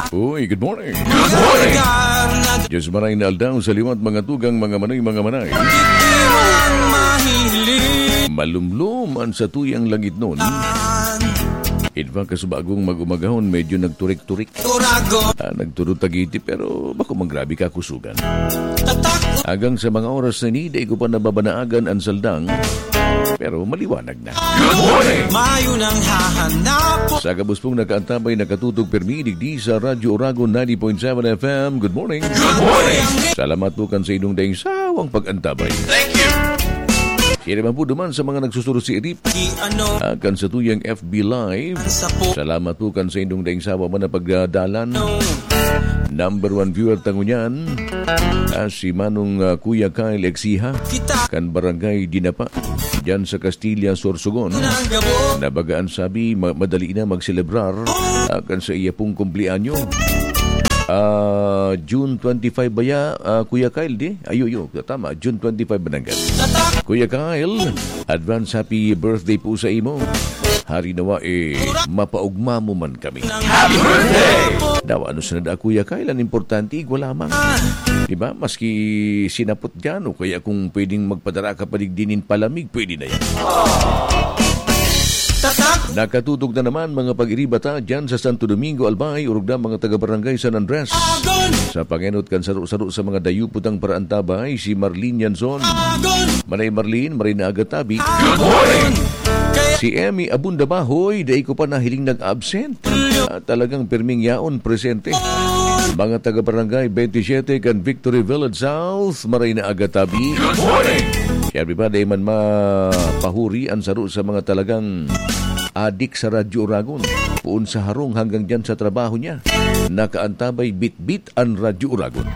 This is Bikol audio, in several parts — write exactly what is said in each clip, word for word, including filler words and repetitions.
Uy, good morning. Good morning. Diyos maray na aldaw sa liwat, mga tugang, mga manay, mga manay. Ito ang mahiling. Malumlom an satuyang langitnon. In fact, kasubagong mag-umagahon, medyo nagturik-turik. Urago. Ah, nagturutagiti, pero bako man grabe kakusugan. Tatak. Agang sa mga oras na ini, dai ko pa nababanaagan an saldang, pero maliwanag na. Good morning. Mayo nang hahanap. Sa gabos pong nakaantabay, nakatutok pirmi digdi sa Radyo Oragon ninety point seven F M. Good morning. Good morning. Salamat po kan sa inyong daing sawang pag-antabay. Thank you. Kaya naman po duman sa mga nagsusuro si Erip. Ki ano. Ah, kan sa tuyang F B Live. Ang sapo. Salamat po kan sa inyong daing sawa man na pagdadalan. No. Number one viewer tango niyan, ah, si Manong, ah, Kuya Kyle Exiha. Kita. Kan Barangay Dinapa. Diyan sa Castilla, Sorsogon. Ang gabo. Na baga an sabi, ma-, madali na magselebrar, ah, kan sa iya pong kumpleanyo. Ah, June twenty-five ba ya, ah, Kuya Kyle, di? Ayo, yo, tama, June twenty-five ba nanggad? Kuya Kyle, advance happy birthday po sa imo. Hari nawa, eh, mapaugma mo man kami. Happy birthday! Daw, ano sa nada, Kuya Kyle, ang importante, igwa lamang. Di ba? Maski sinapot dyan, o kaya kung pwedeng magpadara ka pa digdi nin palamig, pwede na yan. Tatak! Nakatutok na naman, mga pag-iriba ta, dyan sa Santo Domingo, Albay, orog na mga taga-barangay San Andres. Agon! Sa pangenot kan saro-saro sa mga dayupot ang paraantabay, si Marlene Yanson. Agon! Manay Marlene, maray na aga tabi. Good morning! Si Emmy Abunda Bahoy, dai ko pa nahiling nag-absent. Ah, talagang pirming yaon, presente. Mga taga-barangay twenty-seven kan Victory Village South, maray na aga tabi. Good morning! Siyempre pa, dai man mapahuri an saro sa mga talagang adik sa Radyo Oragon. Poon sa harong hanggang dyan sa trabaho niya. Nakaantabay bitbit an Radyo Oragon.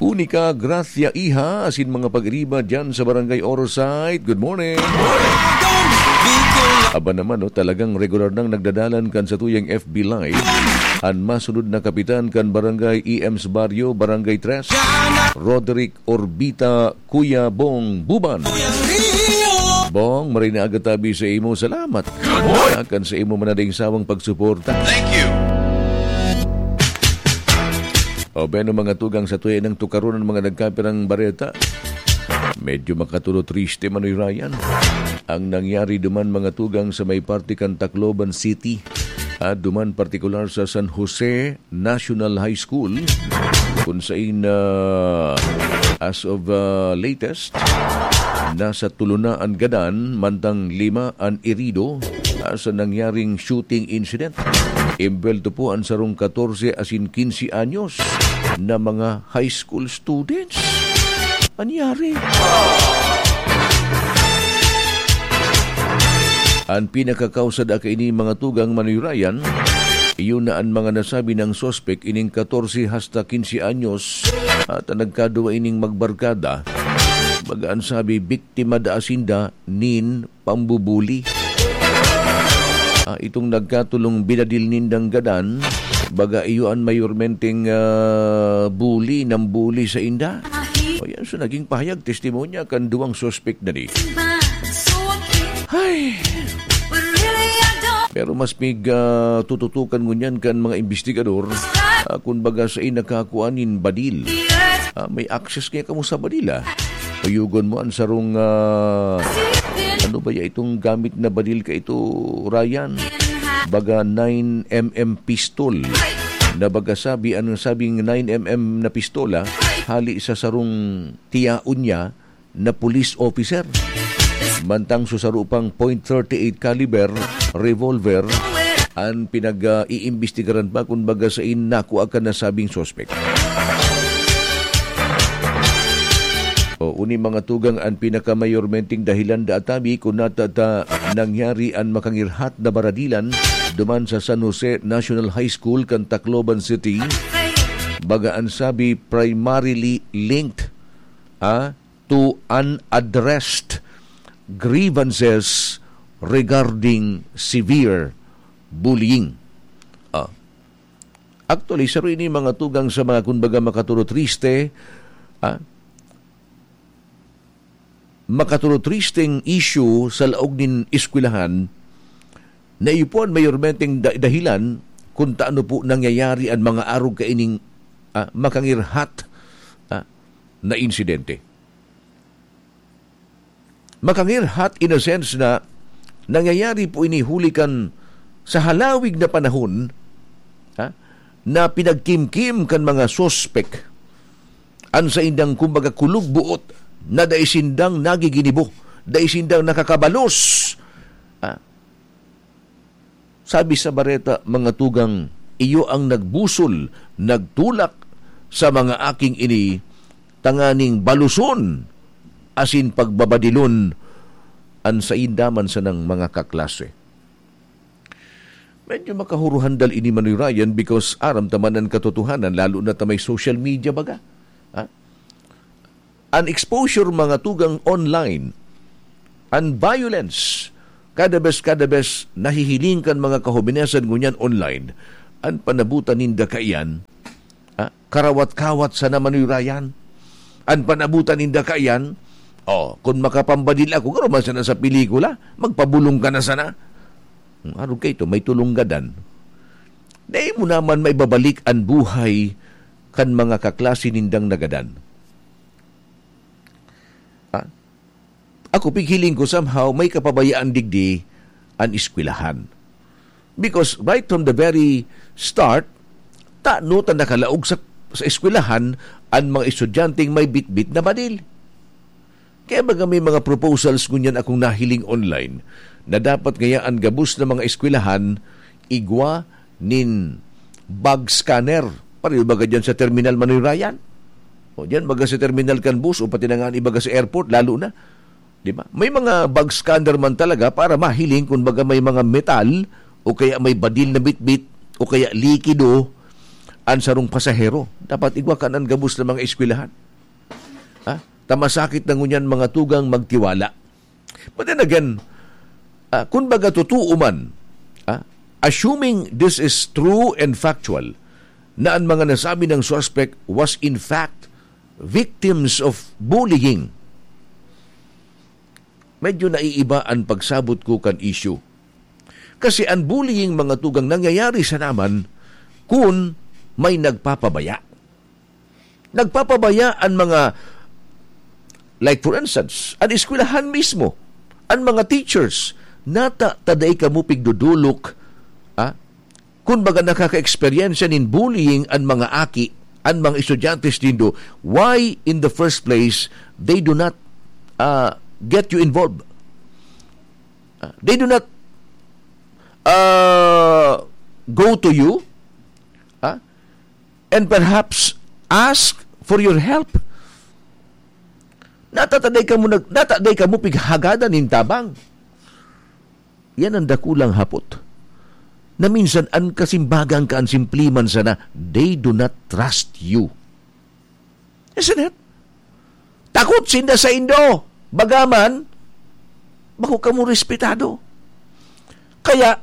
Unica Gracia Iha, asin mga pag-iriba dyan sa Barangay Orosite. Good morning. Aba naman, no, talagang regular nang nagdadalan kan sa tuyang F B Live. An masunod na kapitan kan Barangay E M's Barrio, Barangay Tres, Roderick Orbita, Kuya Bong Buban. Bong, maray na aga tabi sa imo. Salamat. Good morning. Kan sa imo man na ding sawang pagsuporta. Thank you. O, beno, mga tugang, sa tuya nang tukaron ang mga nagkapirang bareta. Medyo makatulo triste, Manoy Ryan. Ang nangyari duman, mga tugang, sa may parte kan Tacloban City. At duman partikular sa San Jose National High School, kun sain, ah, as of, ah, latest, nasa tulo na an gadan, mantang lima an irido, ah, sa nangyaring shooting incident. Imbwelto po an sarong katorse asin kinse anyos na mga high school students. Anyari? An pinakakausa da kaini, mga tugang, Manoy Ryan, iyo na an mga nasabi nang suspek, ining katorse hasta kinse anyos, at an nagkaduwa ining magbarkada, baga an sabi, biktima da asin da nin pambubuli. Ah, itong nagkatulong binadil nindang gadan, baga iyo an mayormenteng, ah, bully, nambuli sa inda. O yan, so naging pahayag, testimonya kan duwang suspek na di. Ay! Pero mas mig, ah, tututukan ngunyan kan mga investigador, ah, kun baga sa inakakua nin badil. Ah, may access kaya kamo sa badil, ah. Uyugon mo ang sarong, ah, ano ba ya itong gamit na badil ka ito, Ryan? Baga nine M M pistol. Na baga sabi, ang sabing nine M M na pistola, hali sa sarong tiyaon niya na police officer. Mantang sa saro pang point thirty-eight caliber revolver, ang pinag-iimbestigaran pa kun baga sa in nakua kan nasabing suspek. O, uni mga tugang, ang pinakamayormenteng dahilan da atabi kun nata ta nangyari ang makangirhat na baradilan duman sa San Jose National High School kan Tacloban City. Baga ang sabi, primarily linked, ah, to unaddressed grievances regarding severe bullying. Ah. Actually, saro ini mga tugang sa mga, kumbaga, makaturotriste, ah, makaturotristeng issue sa laog nin eskwelahan na iyo po an mayormenteng da-, dahilan kung taano po nangyayari an mga arog kaining, ah, makangirhat, ah, na insidente. Makangirhat in a sense na nangyayari po ini huli kan sa halawig na panahon, ha, na pinagkimkim kan mga suspek an saindang, kumbaga, kulog buot na dai sindang nagiginibo, dai sindang nakakabalos. Ah, sabi sa bareta, mga tugang, iyo ang nagbusol, nagtulak sa mga aking ini tanganing baluson asin pagbabadilon an sainda man sanang mga kaklase. Medyo makahuruhandal ini, Manoy Ryan, because aram ta man an katotohanan, lalo na ta may social media baga. Ha? An exposure, mga tugang, online, an violence, kada bes, kada bes nahihiling kan mga kahobenesan ngunyan online, an panabutan ninda kaiyan, ha? Karawat-kawat sana, Manoy Ryan. An panabutan ninda kaiyan, oh, kun makapambadil ako, garo man sana sa pelikula, magpabulong ka na sana. Hmm, arog kaito, may tulong gadan. Dai mo naman maibabalik an buhay kan mga kaklase nindang nagadan. Ah, ako, pighiling ko, somehow, may kapabayaan digdi an eskwelahan. Because right from the very start, tano ta nakalaog sa, sa eskwelahan an mga estudyanteng may bitbit na badil. Kaya baga may mga proposals ngunyan akong nahiling online na dapat ngaya an gabos na mga eskwelahan igwa nin bag scanner. Pareho baga dyan sa terminal, Manoy Ryan? O dyan, baga sa terminal kan bus o pati na nga an ibaga sa airport, lalo na. Di ba? May mga bag scanner man talaga para mahiling kung baga may mga metal o kaya may badil na bitbit o kaya likido an sarong pasahero. Dapat igwa kan an gabos na mga eskwelahan. Ha? Ta masakit na ngunyan, mga tugang, magtiwala. But then again, ah, kun baga totoo man, ah, assuming this is true and factual, na an mga nasabi ng suspect was in fact victims of bullying, medyo naiiba an pagsabot ko kan issue. Kasi an bullying, mga tugang, nangyayari sana man kun may nagpapabaya. Nagpapabaya an mga, like for instance, an eskwelahan mismo, an mga teachers, nata ta dai kamo pigdodolok, ah, kun baga nakaka-eksperyensya nin bullying an mga aki, an mga estudyante nindo, why in the first place they do not, ah, get you involved? Ah, they do not, ah, go to you, ah, and perhaps ask for your help. Nata ta dai kamo nag-, nata dai kamo pighagadan nin tabang. Yan ang dakulang hapot. Na minsan, an kasimbagan ka, an simple man sana, they do not trust you. Isn't it? Takot sinda saindo. Bagaman, bako kamo respetado. Kaya,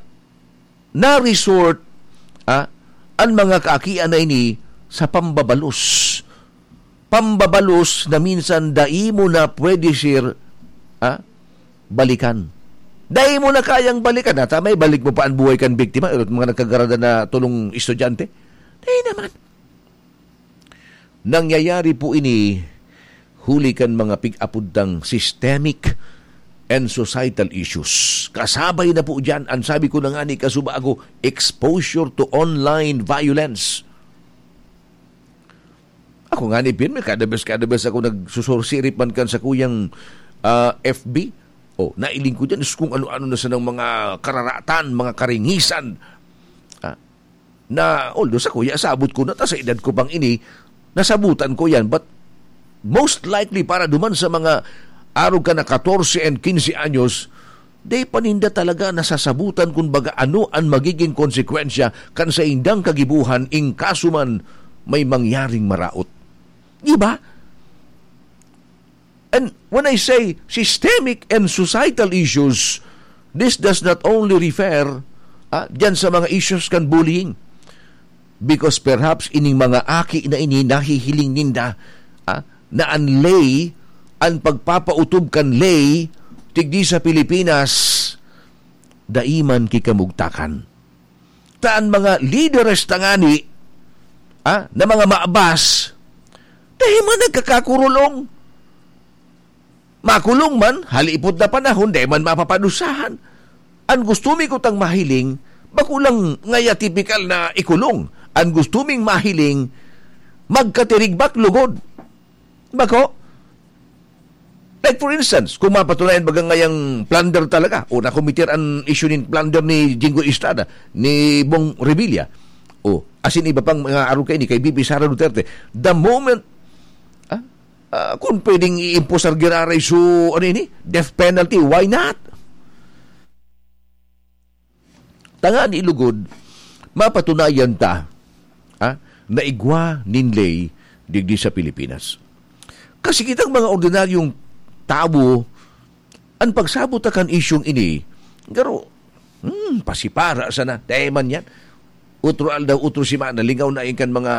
na-resort, ah, an mga kaakian na ini sa pambabalos. Pambabalos na minsan dai mo na pwede, sir, ah, balikan. Dai mo na kayang balikan. Nata may balik mo pa an buhay kan biktima, mga nagkagarada na tulong estudyante. Dai naman. Nangyayari po ini huli kan mga pig-apod tang systemic and societal issues. Kasabay na po diyan, ang sabi ko na nga ni kasubago, exposure to online violence. Ako nga ni Pin, may kada bes, kada bes ako nagsusursirip man kan sa kuyang, ah, F B. Oh, nailing ko dyan is kung ano-ano na sanang mga kararatan, mga karingisan. Ah, na, although sa kuya, sabot ko na, ta sa edad ko pang ini, nasabutan ko yan. But most likely, para duman sa mga arog ka na katorse and kinse anyos, di pa ninda talaga nasasabutan kung baga ano ang magiging konsekwensya kan saindang kagibuhan in kaso man may mangyaring maraot. Di ba? And when I say systemic and societal issues, this does not only refer, ah, dyan sa mga issues kan bullying. Because perhaps ining mga aki na ini nahihiling ninda, ah, na an lay, an pagpapautob kan lay, tigdi sa Pilipinas, dai man kikamugtakan. ta an mga lideres tangani, ah, na mga maabas, dai man nagkakakurulong. Makulong man, halipot na panahon, dai man mapapadusahan. An gusto mi kutang mahiling, bako lang ngaya tipikal na ikulong. An gusto ming mahiling, magkatirigbak lugod. Bako? Like for instance, kung mapatunayan baga ngayang plunder talaga, o nakometer an issue nin plunder ni Jinggoy Estrada, ni Bong Revilla, o asin iba pang mga arog kaini kay B B Sara Duterte, the moment, ah, ah, kung pwedeng i-imposar giraray so, ano ini, death penalty, why not? Tangani lugod, mapatunayan ta, ah, na igwa nin ley digdi sa Pilipinas. Kasi kitang mga ordinaryong tawo, an pagsabot ta kan isyung ini, garo, hmm, pasipara sana, dai man yan. Otro aldaw, otro semana, lingaw na yan kan mga